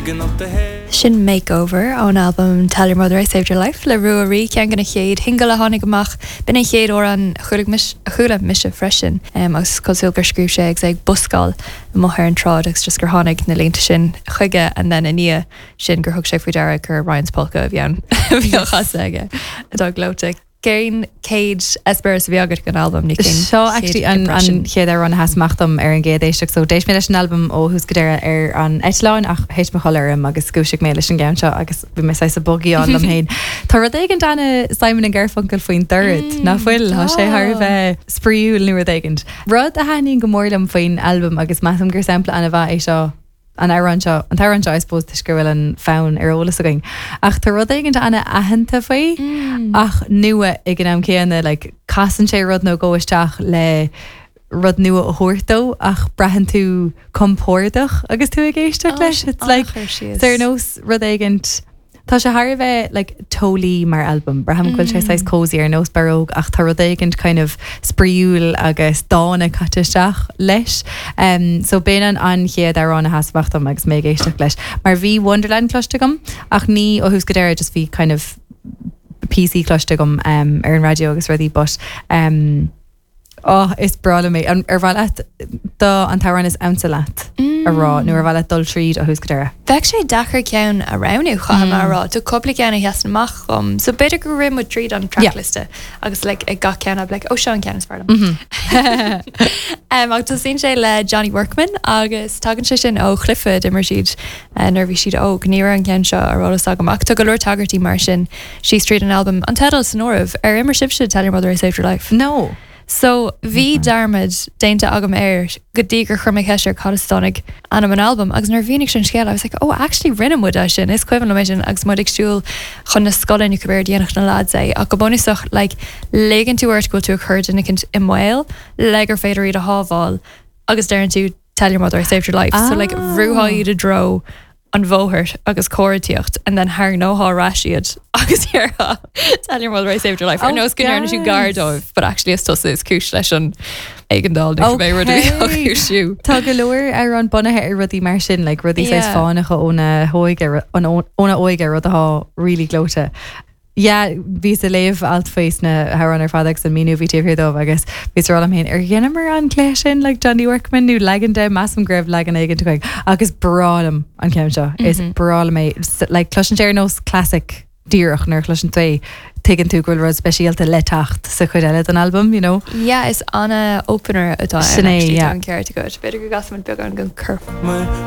Sin Makeover ón albam Tell Your Mother I Saved Your Life le Ruaidhrí, ceann de na chéad shingil a tháinig amach. B'in an chéad amhrán a chuala mise freisin agus is cosúil gur scríobh sé agus é ag buscáil amuigh ar an tsráid agus just gur tháinig na línte sin chuige and then i ndiaidh sin gur thug sé faoi deara gur Ryan's Polka a bhí ann a bhí á chasadh aige atá gleoite. Cén chéad eispéireas a bhí agat den albam nó cén Seo actually an an chéad amhrán a sheas amach dom ar an gcéad éisteacht so d'éist mé leis an albam ó thús go deireadh ar an eitleán ach thit mo chodladh orm agus dhúisigh mé leis an gceann seo agus bhí mé saghas ag bugaíáil liom féin. Tá rud éigin ana Simon and Garfunkel faoin dord, nach bhfuil? Tá sé thar a bheith spraíúil nó rud éigin. Rud a thaitníonn go mór liom faoin albam agus measaim gur sampla ana-mhaith é seo, an amhrán seo, an t-amhrán seo I suppose toisc go bhfuil an fonn ar eolas againn. Ach tá rud éigin ana-aitheanta faoi ach nua ag an am céanna, like casann sé rud nó dhó isteach le rud nua a thabhairt dó ach braitheann tú compordach agus tú ag éisteacht leis. It's like, it's ar nós rud éigin Tá sé thar a bheith like teolaí mar albam. Braithim go bhfuil sé saghas cosy ar nós barróg ach tá rud éigint kind of spraíúil agus dána caite isteach leis. Um, so b'in an an chéad amhrán a sheas amach dom agus mé ag éisteacht leis. Mar bhí Wonderland cloiste agam ach ní ó thús go deireadh just bhí kind of píosaí cloiste agam um, ar an raidió agus rudaí but um, Oh, is breá liom é. Ar mhaith leat do an t-amhrán is ansa leat a rá nó ar mhaith leat dul tríd ó thús go deireadh? Bheadh sé deacair ceann a roghnú, caithfidh mé a rá. Tá cúpla ceann a sheasann amach dhom. So b'fhéidir go rith muid tríd an trackliosta agus like ag gach ceann I'd be like, oh seo an ceann is fearr liom. Ach tosaíonn sé le Johnny Workman agus tagann sé sin ó chluiche a d'imir siad nuair a bhí siad óg. Ní raibh an ceann seo ar eolas agam ach tá go leor tagairtí mar sin síos tríd an albam. An teideal san áireamh. Ar imir sibhse Tell Your Mother I Saved Your Life? No. So, bhí dearmad déanta agam air go dtí gur chuir mé ceist air cad as a dtáinig ainm an albaim agus nuair a mhínigh sé an scéal I was like, oh actually rinne muid é sin, is cuimhin liom é sin agus muid ag siúl chun na scoile nó cibé ar dhéanadh na lads é ach go bunúsach like ligeann tú ort go bhfuil tú ag cur duine eicínt i mbaol le gur féidir iad a shábháil agus deireann tú tell your mother I saved your life. So like bhrúfá iad i dtreo an bhóthair agus carr ag tíocht and then tharraingeofá ar ais iad agus déarfá tell your mother I saved your life ar nós go ndearna tú gar dóibh but actually is tusa is cúis leis an éigeandáil nó cibé rud a bhí á chúisiú. Tá go leor amhrán bunaithe ar rudaí mar sin, like rudaí saghas fánacha óna hóige, óna óige, rud atá really gleoite. Yeah, bhíos ag léamh alt faoi sna hamhráin ar fad agus an míniú a bhí taobh thiar dóibh agus bhíos ag rá liom féin, ar dheineamar an cluiche sin like Johnny Workman nó leagan de, measaim go raibh leagan éigin againn ach is breá liom an ceann seo, is breá liom é. Like cloiseann sé ar nós classic díreach nuair a chloiseann tú é, tuigeann tú go bhfuil rud speisialta le teacht sa chuid eile den albam, you know. Yeah, is ana opener atá ann Sin é, actually, yeah. tá an ceart agat. B'fhéidir go gcasfaimid beagán den chorp.